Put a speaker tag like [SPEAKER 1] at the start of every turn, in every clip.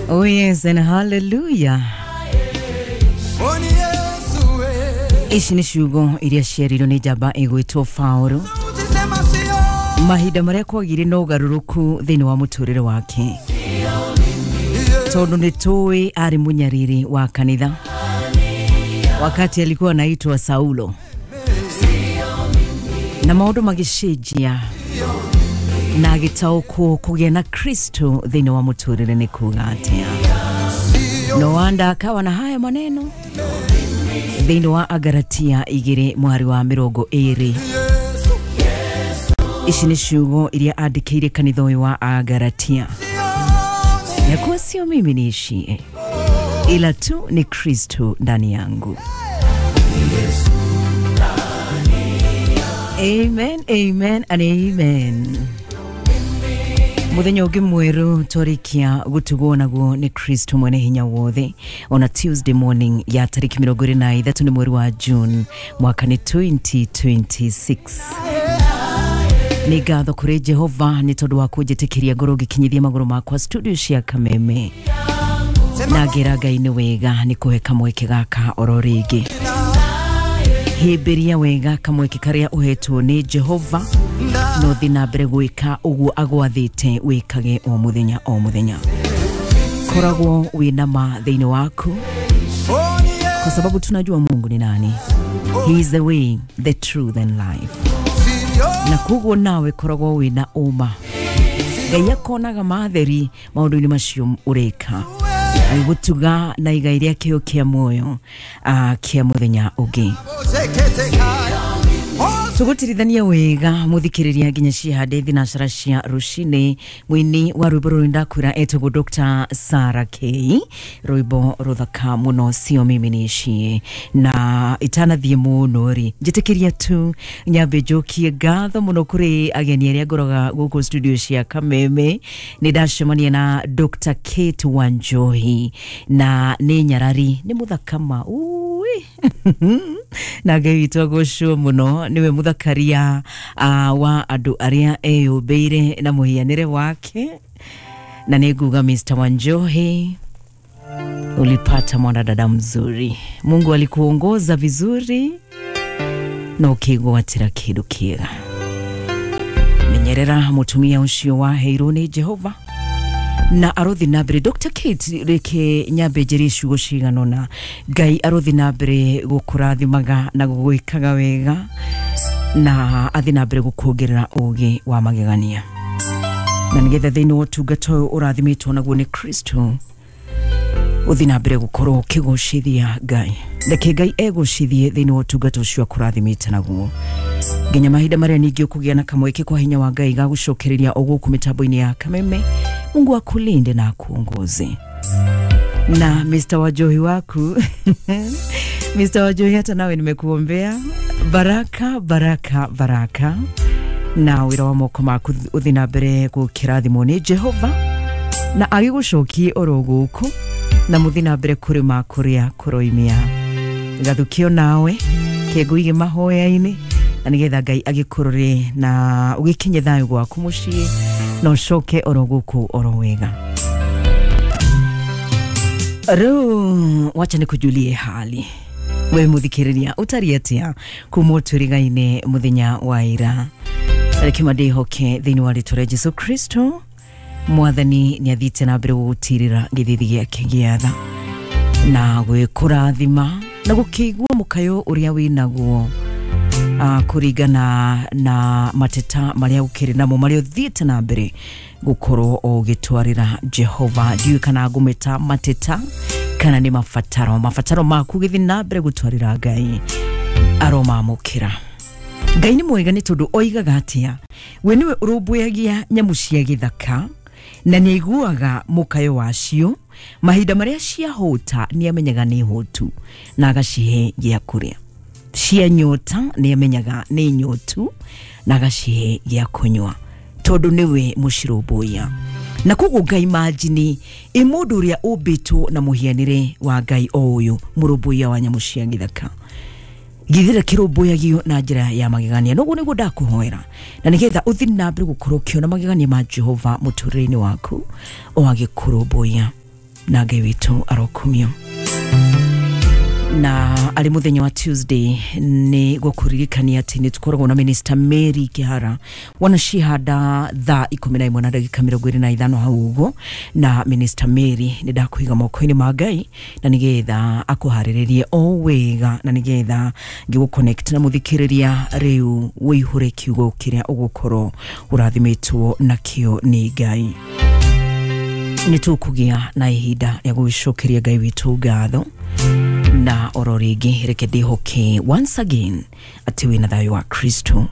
[SPEAKER 1] Oh yes and hallelujah. Ici nĩ ciugo iria ciarirwo nĩ njamba ĩgwĩtwo Paulo mahinda marĩa kwagire na ũgarũrũku thĩinĩ wa mũtũrĩre wake, tondũ nĩ tũĩ arĩ mũnyariri wa kanitha wakati alikuwa anaitwa Saulo, na maũndũ magĩcenjia na agĩtaũkwo kũgĩa na Kristo thĩinĩ wa mũtũrĩre nĩ kuga atĩa. No wonder akawa na haya maneno thĩinĩ wa Agalatia 2 mwari wa 20. Ici nĩ ciugo iria andĩkĩire kanitha ũyũ wa Agalatia, ya kuwa sio mimi niishie, ila tu ni Kristo ndani yangu. Amen, amen and amen. Muthenya ũngĩ mwerũ twarikia gũtugwo naguo nĩ Kristo mwene hinya wothe ona Tuesday morning ya tariki 23 nĩ mweri wa June mwaka nĩ 2026. Nĩ ngatho kũrĩ Jehova nĩ tondũ wa kũnjĩtĩkĩria ngorwo ngĩkinyithia magũrũ makwa studio cia Kameme, na ngĩra Ngai nĩ wega nĩ kũhe kamweke gaka oro rĩngĩ. Hĩmbĩria wega kamweke karĩa ũhetwo nĩ Jehova, no thi na mbere gwĩka ũguo agwathĩte wĩkage o mũthenya o mũthenya. Koragwo wĩna ma thĩinĩ waku, kwa sababu tunajua Mungu ni nani. He is the way, the truth and life. Na koguo nawe koragwo wĩna ũma, Ngai akonaga matheri maũndũ-inĩ macio ũreka, agĩgũtuga na igai rĩa kĩo kĩa muoyo kĩa mũthenya ũngĩ. Tũgũtirithania wega mũthikĩrĩria nginya ciehande thinacara cia rũcinĩ. Mũini wa rwĩmbo rũrũ ndakwĩra etagwo Dr. Sarah K, rwĩmbo rũthaka mũno sio mimi niishie. Na itanathiĩ mũno rĩ, njĩtĩkĩria tu nyambe njokie ngatho mũno kũrĩ ageni arĩa ngoroga gũkũ studio cia Kameme. Nĩ ndacemania na Dr. Kate Wanjohi, na nĩ nyarari, nĩ mũthaka ma ui na Ngai witũ agocwo mũno, nĩwe mũthakaria wa andũ arĩa eyũmbĩire na mũhianĩre wake. Na nĩ nguga Mr. Wanjohi, ulipata mwanadada mzuri, Mungu alikuongoza vizuri na ũkĩgwatĩra kĩndũ kĩega. Menyerera mũtumia ũcio waheirwo nĩ Jehova na arothi na mbere. Dr. Kate, reke nyambe njĩrie ciugo cigana ũna. Ngai arothi na mbere gũkũrathimaga na gũgwĩkaga wega, na athi na mbere gũkuongerera ũgĩ wa magegania, na nĩgetha thĩinĩ wa ũtungata ũyũ ũrathimĩtwo naguo nĩ Kristo ũthi na mbere gũkorwo ũkĩgocithia Ngai. Reke Ngai egocithie thĩinĩ wa ũtungata ũcio akũrathimĩte naguo, nginya mahinda marĩa ningĩ ũkũgĩa na kamweke kwa hinya wa Ngai ga gũcokereria o gũkũ mĩtambo-inĩ ya Kameme. Mungu akulinde na akuongoze. Na Mr. Wajohi waku Mr. Wajohi, hata nawe nimekuombea baraka baraka baraka, na wĩra wa moko maku ũthi na mbere gũkĩrathimwo nĩ Jehova, na agĩgũcokie oro gũkũ, na mũthi na mbere kũrĩma kũrĩa kũroimia. Gathukio nawe kĩngũige mahoya-inĩ, na nĩgetha Ngai agĩkũrore na ũgĩkinye thayũ gwaku mũciĩ, na ũcoke oro gũkũ oro wega. Rĩu wacha nĩkũjulie hali we mũthikĩrĩria ũtariĩ atĩa kuma ũtũriga-inĩ mũthenya wa ira. Reke ndĩhoke thĩinĩ wa rĩtwa rĩa Jesu Kristo mwathani nĩ athiĩte na mbere gũgũtirĩra gĩthithi gĩake gĩa tha na gwĩkũrathima na gũkĩigua mũkayo ũrĩa wĩnaguo kũringana na mateta marĩa ũkĩrĩ namo marĩa ũthiĩte na mbere gũkorwo ũgĩtwarĩra Jehova. Ndiũĩ kana ngũmĩta mateta kana nĩ mabataro, mabataro maku gĩthiĩ na mbere gũtwarĩra Ngai aromamũkĩra. Ngai nĩ mwega nĩ tondũ oigaga atĩa, we nĩwe ũrũmbũyagia nyamũ cia gĩthaka na nĩ aiguaga mũkayo wacio, mahinda marĩa ciahũta nĩ amenyaga nĩ hũtu na agacihe gĩa kũrĩa, cia nyota nĩ amenyaga nĩ nyotu na agacihe gĩa kũnyua, tondũ nĩwe mũcirũmbũiya. Na koguo Ngai imagine ĩ mũndũ ũrĩa ũmbĩtwo na mũhianĩre wa Ngai o ũyũ mũrũmbũiya wa nyamũ cia gĩthaka, Githira kirũmbũyagio na njĩra ya magegania. Noguo nĩguo ndakũhoera, na nĩgetha ũthiĩ na mbere gũkorwo ũkĩona magegania ma Jehova mũtũrĩre-inĩ waku o agĩkũrũmbũiya, na Ngai witũ arokumio. Na arĩ mũthenya wa Tuesday nĩ gũkũririkania atĩ nĩ tũkoragwo na Minister Mary Kihara wanacihanda thaa 11:25 hau ũguo. Na Minister Mary nĩ ndakũiga moko-inĩ ma Ngai, na nĩgetha akũharĩrĩrie o wega, na nĩgetha ngĩgũ connect na mũthikĩrĩria rĩu wĩihũre kiugo kĩrĩa ũgũkorwo ũrathimĩtwo nakĩo nĩ Ngai. Nĩ tũkũgĩa na ihinda rĩa gũgĩcokeria Ngai witũ ngatho, na oro rĩngĩ reke ndĩhoke once again atĩ wĩna thayũ wa Kristo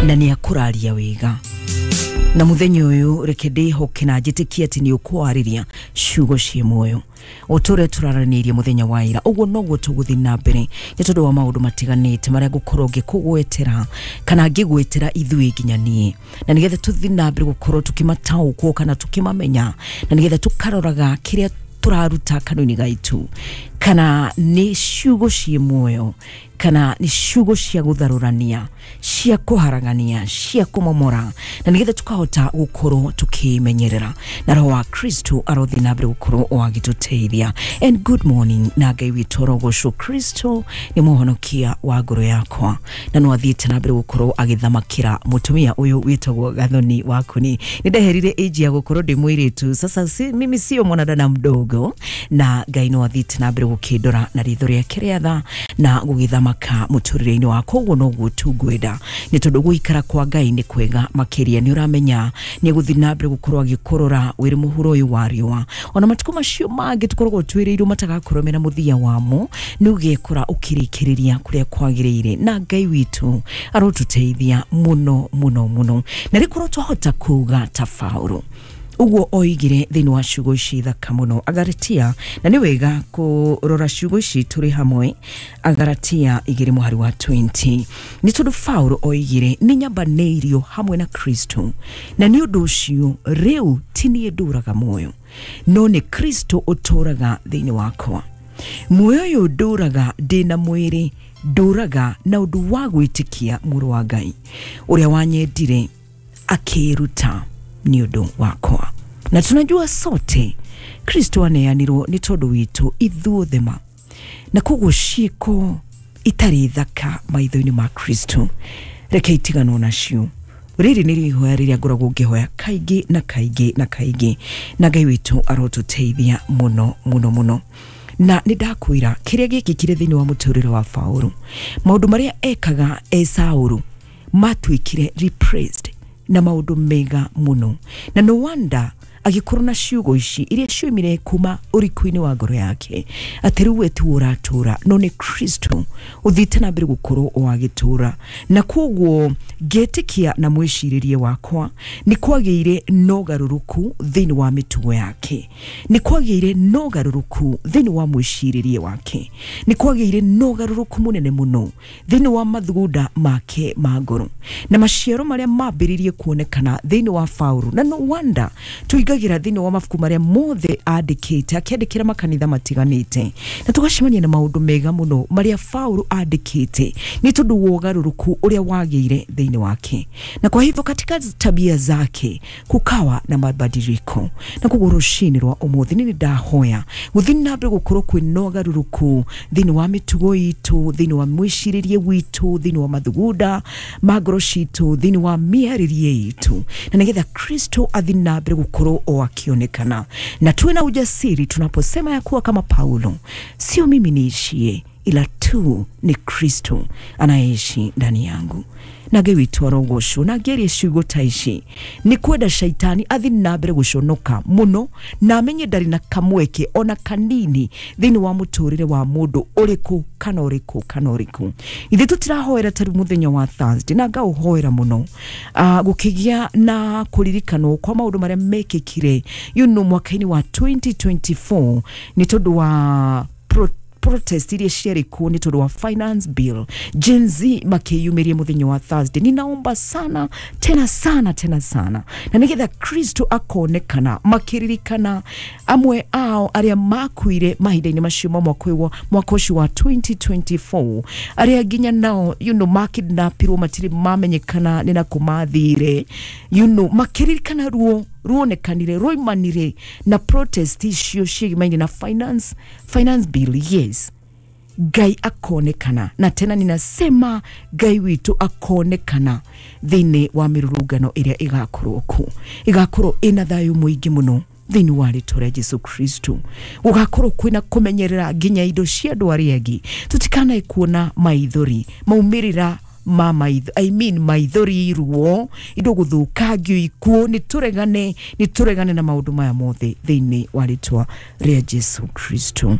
[SPEAKER 1] na nĩ akũraria wega. Na mũthenya ũyũ reke ndĩhoke na njĩtĩkie atĩ nĩ ũkwarĩria ciugo ciĩ muoyo o ta ũrĩa tũraranĩirie mũthenya wa ira. Ũguo noguo tũgũthiĩ na mbere, nĩ tondũ wa maũndũ matiganĩte marĩa ngũkorwo ngĩkũgwetera kana ngĩgwetera ithuĩ nginya niĩ, na nĩgetha tũthiĩ na mbere gũkorwo tũkĩmataũkwo kana tũkĩmamenya, na nĩgetha tũkaroraga kĩrĩa tũraruta kanua-inĩ gaitũ, kana nĩ ciugo ciĩ muoyo kana nĩ ciugo cia gũtharũrania, cia kũharagania, cia kũmomora, na nĩgetha tũkahota gũkorwo tũkĩmenyerera, na roho wa Kristo arothiĩ na mbere gũkorwo o agĩtũteithia. And good morning, na Ngai witũ arogocwo. Kristo nĩ mũhonokia wa ngoro yakwa, na no athiĩte na mbere gũkorwo agĩthamakĩra mũtumia ũyũ wĩtagwo Gathoni Wakuni. Nĩ ndeherire age ya gũkorwo ndĩ mũirĩtu sasa, si, mimi sio mwanadada mdogo, na Ngai no athiĩte na mbere gũkĩndora na ritho rĩake rĩa tha na gũgĩthamaka mũtũrĩre-inĩ wakwa. Ũguo noguo tu ngwenda, nĩ tondũ gũikara kwa Ngai nĩ kwega makĩria. Nĩ ũramenya nĩ egũthiĩ na mbere gũkorwo agĩkũrora wĩrĩ mũhuro ũyũ wa riũa, ona matukũ macio mangĩ tũkoragwo twĩrĩirwo matagakorwo mena mũthia wamo, nĩ ũgekora ũkĩrĩkĩrĩria kũrĩa kwagĩrĩire. Na Ngai witũ arotũteithia mũno mũno mũno, na rĩkorwo twahota kuga ta Paulo ũguo oigire thĩinĩ wa ciugo ici thaka mũno Agaratia, na nĩ wega kũrora ciugo ici tũrĩ hamwe, Agaratia 2 mũhari wa 20, nĩ tondũ Paulo oigire nĩ nyambanĩirio hamwe na Kristo, na nĩ ũndũ ũcio rĩu ti niĩ ndũraga muoyo, no nĩ Kristo ũtũraga thĩinĩ wakwa. Muoyo ũyũ ndũraga ndĩ na mwĩrĩ, ndũraga na ũndũ wa gwĩtĩkia mũrũ wa Ngai ũrĩa wanyendire akĩĩruta nĩ ũndũ wakwa. Na tunajua sote Kristo aneanirwo nĩ tondũ witũ ithuothe ma, na koguo ciĩko itarĩ thaka maitho-inĩ ma Kristo reke itiganwo nacio. Rĩrĩ nĩ ihoya rĩrĩa ngoragwo ngĩhoya kaingĩ na kaingĩ na kaingĩ, na Ngai witũ arotũteithia mũno mũno mũno. Na nĩ ndakwĩra kĩrĩa gĩkĩkire thĩinĩ wa mũtũrĩre wa Paulo, maũndũ marĩa ekaga e Saũlũ matuĩkire replaced na maũndũ mega mũno, na no wonder agĩkorwo na ciugo ici iria cioimire kuma ũriku-inĩ wa ngoro yake, atĩ rĩu we tiwe ũratũra no nĩ Kristo ũthiĩte na mbere gũkorwo o agĩtũra. Na koguo ngetĩkia na mwĩcirĩrie wakwa nĩ kwagĩire na ũgarũrũku thĩinĩ wa mĩtugo yake, nĩ kwagĩire na ũgarũrũku thĩinĩ wa mwĩcirĩrie wake, nĩ kwagĩire na ũgarũrũku mũnene mũno thĩinĩ wa mathugunda make ma ngoro, na maciaro marĩa mambĩrĩirie kuonekana thĩinĩ wa Paulo. Na no wonder tũingagĩra thĩinĩ wa mabuku marĩa mothe andĩkĩte, akĩandĩkĩra makanitha matiganĩte, na tũgacemania na maũndũ mega mũno marĩa Paulo andĩkĩte, nĩ tondũ wa ũgarũrũku ũrĩa wagĩire thĩinĩ wake. Na kwa hivyo katika tabia zake kukawa na mabadiliko. Na koguo rũcinĩ rwa ũmũthĩ nĩ ndahoya gũthiĩ na mbere gũkorwo kwĩna ũgarũrũku thĩinĩ wa mĩtugo itũ, thĩinĩ wa mwĩcirĩrie witũ, thĩinĩ wa mathugunda ma ngoro citũ, thĩinĩ wa mĩarĩrie itũ, na nĩgetha Kristo athiĩ na mbere gũkorwo o akionekana, na tuwe na ujasiri tunaposema ya kuwa kama Paulo, sio mimi niishie, ila tu ni Kristo anayeishi ndani yangu. Na Ngai witũ arogocwo. Na ngĩaria ciugo ta ici nĩ kwenda shaitani athi na mbere gũconoka mũno, na amenye ndarĩ na kamweke ona kanini thĩinĩ wa mũtũrĩre wa mũndũ ũrĩkũ kana ũrĩkũ kana ũrĩkũ. Ithuĩ tũtirahoera ta rĩu mũthenya wa Thursday, na ngaũhoera mũno gũkĩgĩa na kũririkanwo kwa maũndũ marĩa mekĩkire mwaka-inĩ wa 2024 nĩ tondũ wa protest iria ciarĩ kuo nĩ tondũ wa finance bill. Gen Z makĩyumĩria mũthenya wa Thursday. Ninaomba sana tena sana tena sana, na nĩgetha Kristo akonekana, makĩririkana amwe ao arĩa makuire mahinda-inĩ macio ma mwaka ũcio wa 2024, arĩa nginya nao makidnapirwo, matirĩ mamenyekana nĩ nakũ mathire, makĩririkana ruo ruonekanire ruimanire na protest icio ciĩgimaine na finance bill. Yes, Ngai akonekana, na tena ninasema Ngai witũ akonekana thĩinĩ wa mĩrũrũngano ĩrĩa ĩgakorwo kuo, ĩgakorwo ĩna thayũ mũingĩ mũno thĩinĩ wa rĩtwa rĩa Jesu Kristo. Gũgakorwo kwĩna kũmenyerera nginya indo cia andũ arĩa angĩ, tũtikanae kuona maithori maumĩrĩra ma maitho, I mean maithori, ruo, indo gũthũkangio, ikuũ. Nĩ tũregane na maũndũ maya mothe thĩinĩ wa rĩtwa rĩa Jesu Kristo.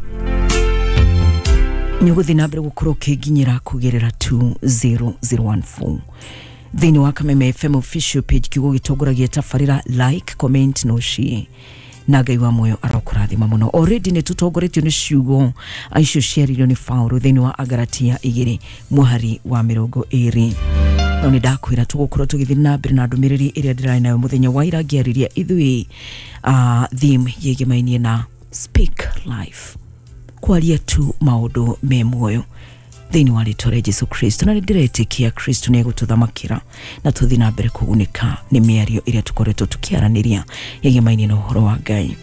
[SPEAKER 1] Nĩ ũgũthiĩ na mbere gũkorwo ũkĩnginyĩra kũgerera 20014 thĩinĩ wa Kameme FM official page. Kiugo gĩtongoragia tabarĩra, like, comment no share, na Ngai wa muoyo arokũrathima mũno. Already nĩ tũtongoretio nĩ ciugo icio ciaririo nĩ Paulo thĩinĩ wa Agalatia 2 mũhari wa 20. No nĩ ndakwĩra tũgũkorwo tũgĩthiĩ na mbere na ndũmĩrĩri ĩrĩa ndĩrarĩ nayo mũthenya wa ira, ngĩarĩria ithuĩ theme yĩgĩmainie na speak life, kwaria tu maũndũ me muoyo thĩinĩ wa rĩtwa rĩa Jesu Kristo. Na nĩ ndĩretĩkia Kristo nĩ egũtũthamakĩra na tũthiĩ na mbere kũgunĩka nĩ mĩario ĩrĩa tũkoretwo tũkĩaranĩria yegemaine na ũhoro wa Ngai.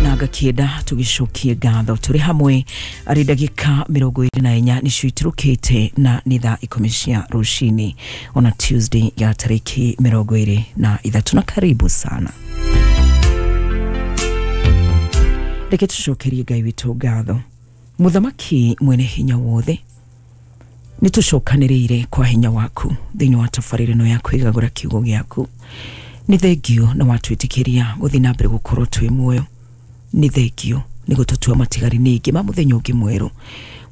[SPEAKER 1] Na ngakĩenda tũgĩcokie ngatho tũrĩ hamwe arĩ ndagĩka 24 nĩcio itirũkĩte na nĩ thaa 10 cia rũcinĩ ona Tuesday ya tarĩki 23, na karibu sana. Reke tũcokerie Ngai witũ ngatho. Mũthamaki mwene hinya wothe, nĩ tũcokanĩrĩire kwa hinya waku thĩinĩ wa tabarĩra ĩno ya kwĩgagũra kiugo gĩaku. Nĩ thengio na watwĩtĩkĩria gũthiĩ na mbere gũkorwo twĩ muoyo. Nĩ thengio nĩ gũtũtua matigari ningĩ ma mũthenya ũngĩ mwerũ,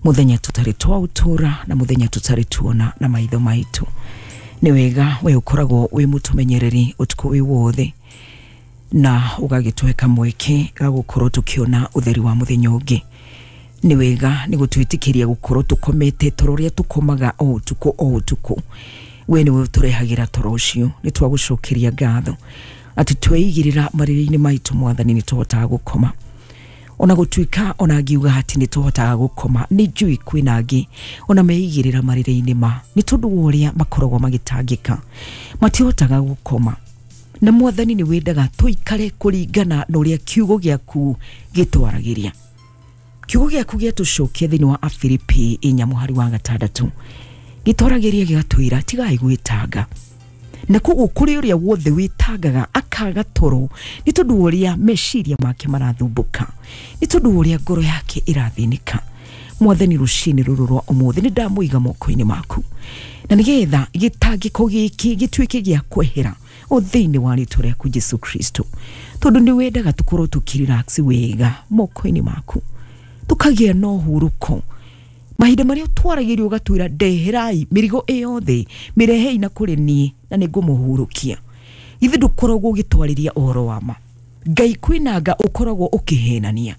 [SPEAKER 1] mũthenya tũtarĩ twaũtũra na mũthenya tũtarĩ tuona na maitho maitũ. Nĩ wega we ũkoragwo wĩ mũtũmenyereri ũtukũ wĩ wothe na ũgagĩtũhe kamweke ga gũkorwo tũkĩona ũtheri wa mũthenya ũngĩ. Nĩ wega nĩ gũtwĩtĩkĩria gũkorwo tũkomete toro ũrĩa tũkomaga o ũtukũ o ũtukũ. We nĩwe ũtũrehagĩra toro ũcio. Nĩ twagũcokeria ngatho atĩ tweigĩrĩra marĩrĩ-inĩ maitũ, Mwathani, nĩ tũhotaga gũkoma. Ona gũtuĩka ona ngiuga atĩ nĩ tũhotaga gũkoma, nĩ njũĩ kwĩna angĩ ona meigĩrĩra marĩrĩ-inĩ ma nĩ tondũ wa ũrĩa makoragwo magĩtangĩka matihotaga gũkoma. Na Mwathani, nĩ wendaga tũikare kũringana na ũrĩa kiugo gĩaku gĩtwaragĩria. Kiugo gĩaku gĩatũcokia thĩinĩ wa Afilipi 4 mũhari wa 6, gĩtwaragĩria gĩgatwĩra tigai gwĩtanga. Na koguo kũrĩ ũrĩa wothe wĩtangaga akaga toro nĩ tondũ wa ũrĩa meciria make marathumbũka, nĩ tondũ wa ũrĩa ngoro yake ĩrathĩnĩka, Mwathani, rũcinĩ rũrũ rwa ũmũthĩ nĩ ndamũiga moko-inĩ maku, na nĩgetha gĩtangĩko gĩkĩ gĩtuĩke gĩa kwehera o thĩinĩ wa rĩtwa rĩaku Jesu Kristo, tondũ nĩ wendaga tũkorwo tũkĩrelax wega moko-inĩ maku, tũkagĩa na ũhurũko. Mahinda marĩa twaragĩrio ũgatwĩra, "Ndeherai mĩrigo ĩyothe, mĩrehei na kũrĩ niĩ na nĩ ngũmũhurũkia." Githĩ ndũkoragwo ũgĩtwarĩria ũhoro wa ma, Ngai? Kwĩnanga ũkoragwo ũkĩhenania.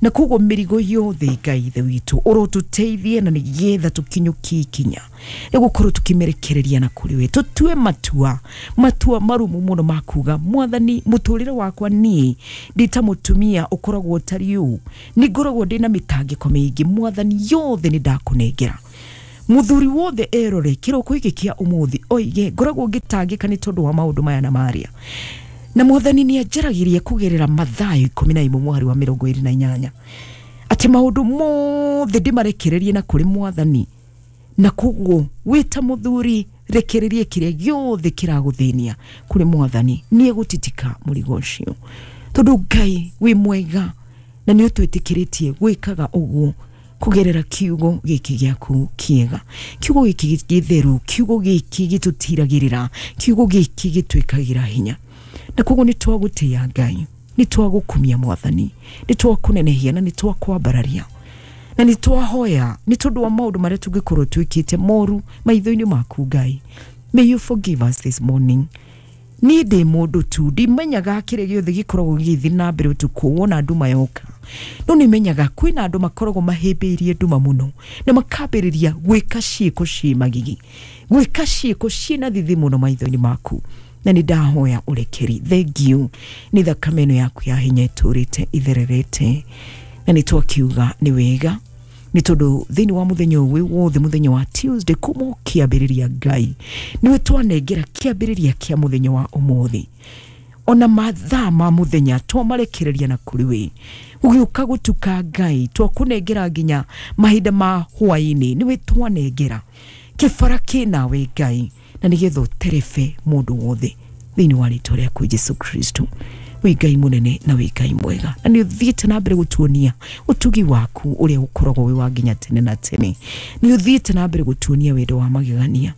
[SPEAKER 1] Na koguo mĩrigo yothe, Ngai Ithe witũ, ũrotũteithie na nĩgetha tũkinyũkie ikinya rĩa gũkorwo tũkĩmĩrekereria na kũrĩ we, tũtue matua marumu mũno ma kuga, "Mwathani, mũtũrĩre wakwa niĩ ndĩ ta mũtumia ũkoragwo ũtariĩ ũũ, nĩ ngoragwo ndĩna mĩtangĩko mĩingĩ. Mwathani, yothe nĩ ndakũnengera." Mũthuri wothe erore kĩroko gĩkĩ kĩa ũmũthĩ oige, "Ngoragwo ngĩtangĩka nĩ tondũ wa maũndũ maya na marĩa." Na Mwathani nĩ anjaragĩria kũgerera Mathayo 11 mũhari wa 28 atĩ maũndũ mothe ndĩmarekererie na kũrĩ Mwathani. Na koguo wĩ ta mũthuri, rekererie kĩrĩa gĩothe kĩragũthĩnia kũrĩ Mwathani, nĩ egũtitika mũrigo ũcio, tondũ Ngai wĩ mwega na nĩ ũtwĩtĩkĩrĩtie gwĩkaga ũguo kũgerera kiugo gĩkĩ gĩaku kĩega, kiugo gĩkĩ gĩtheru, kiugo gĩkĩ gĩtũtiragĩrĩra, kiugo gĩkĩ gĩtwĩkagĩra hinya. Na koguo nĩ twagũtĩĩa Ngai, nĩ twagũkumia Mwathani, nĩ twakũnenehia na nĩ twakwambararia, na nĩ twahoya nĩ tondũ wa maũndũ marĩa tũngĩkorwo twĩkĩte moru maitho-inĩ maku. Ngai, may you forgive us this morning. Niĩ ndĩ mũndũ tu, ndimenyaga kĩrĩa gĩothe gĩkoragwo gĩgĩthiĩ na mbere ũtukũ wona nduma yoka, no nĩ menyaga kwĩna andũ makoragwo mahĩmbĩirie nduma mũno na makambĩrĩria gwĩka ciĩko ciĩ magigi, gwĩka ciĩko ciĩna thithi mũno maitho-inĩ maku, na nĩ ndahoya ũrekeri. Thengiũ nĩ thakame ĩno yaku ya hinya ĩtũrĩte ithererete, na nĩ twakiuga nĩ wega nĩ tondũ thĩinĩ wa mũthenya ũyũ wothe, mũthenya wa Tuesday kuma kĩambĩrĩria, Ngai nĩwe twanengera kĩambĩrĩria kĩa mũthenya wa ũmũthĩ. Ona mathaa ma mũthenya twamarekereria na kũrĩ we, gũgĩũka gũtuka Ngai twakũnengera nginya mahinda ma hwaĩ-inĩ, nĩwe twanengera kĩbara kĩnawe Ngai, na nĩgetha ũterebe mũndũ wothe thĩinĩ wa rĩtwa rĩaku Jesu Kristo. Wĩ Ngai mũnene na wĩ Ngai mwega, na nĩ ũthiĩte na mbere gũtuonia ũtugi waku ũrĩa ũkoragwo wĩ wa nginya tene na tene. Nĩ ũthiĩte na mbere gũtuonia wendo wa magegania.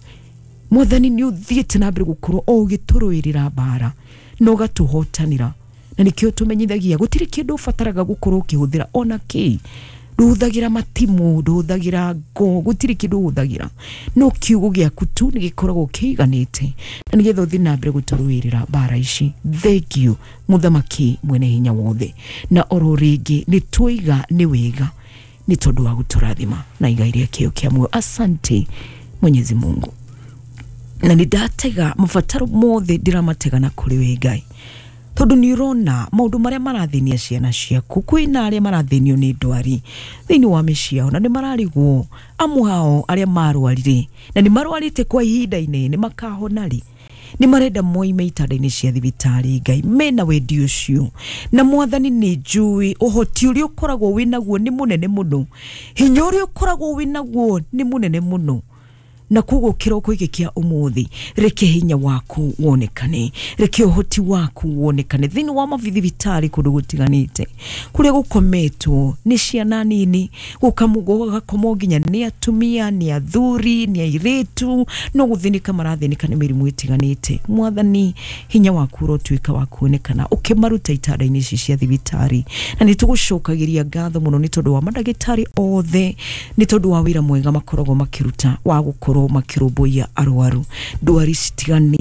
[SPEAKER 1] Mwathani, nĩ ũthiĩte na mbere gũkorwo o ũgĩtũrũĩrĩra mbara na ũgatũhotanĩra, na nĩkĩo tũmenyithagia gũtirĩ kĩndũ ũbataraga gũkorwo ũkĩhũthĩra ona kĩ. Ndũhũthagĩra matimũ, ndũhũthagĩra ngo, gũtirĩ kĩndũ ũhũthagĩra, no kiugo gĩaku tu nĩ gĩkoragwo kĩiganĩte, na nĩgetha ũthiĩ na mbere gũtũrũĩrĩra mbara ici. Thank you Mũthamaki mwene hinya wothe, na oro rĩngĩ nĩ twaiga nĩ wega nĩ tondũ wa gũtũrathima na igai rĩa kĩo kĩa muoyo. Asante Mwenyezi Mungu, na nĩ ndatega mabataro mothe ndĩramatega na kũrĩ we Ngai, tondũ nĩ ũrona maũndũ marĩa marathĩnia ciana ciaku. Kwĩna arĩa marathĩnio nĩ ndwari thĩinĩ wa mĩciĩ yao, na nĩ mararigwo amwe ao arĩa marwarire na nĩ marwarĩte kwa ihinda inene makahona rĩ. Nĩ marenda moime itanda-inĩ cia thibitarĩ Ngai, mena wendi ũcio, na Mwathani nĩ njũĩ ũhoti ũrĩa ũkoragwo wĩnaguo nĩ mũnene mũno, hinya ũrĩa ũkoragwo wĩnaguo nĩ mũnene mũno, na koguo kĩroko gĩkĩ kĩa ũmũthĩ reke hinya waku wonekane, reke ũhoti waku wonekane thĩinĩ wa mathibitarĩ kũndũ gũtiganĩte kũrĩa gũkometwo nĩ ciana nini, gũgakomwo nginya nĩ atumia, nĩ athuri, nĩ airĩtu, no gũthĩnĩka marathĩnĩka nĩ mĩrimũ ĩtiganĩte. Mwathani, hinya waku ũrotuĩka wa kuonekana ũkĩmaruta itanda-inĩ ici cia thibitarĩ, na nĩ tũgũcokagĩria ngatho mũno nĩ tondũ wa mandagĩtarĩ othe, nĩ tondũ wa wĩra mwega makoragwo makĩruta wa gũkorwo makĩrũmbũiya arwaru ndwari citiganĩte.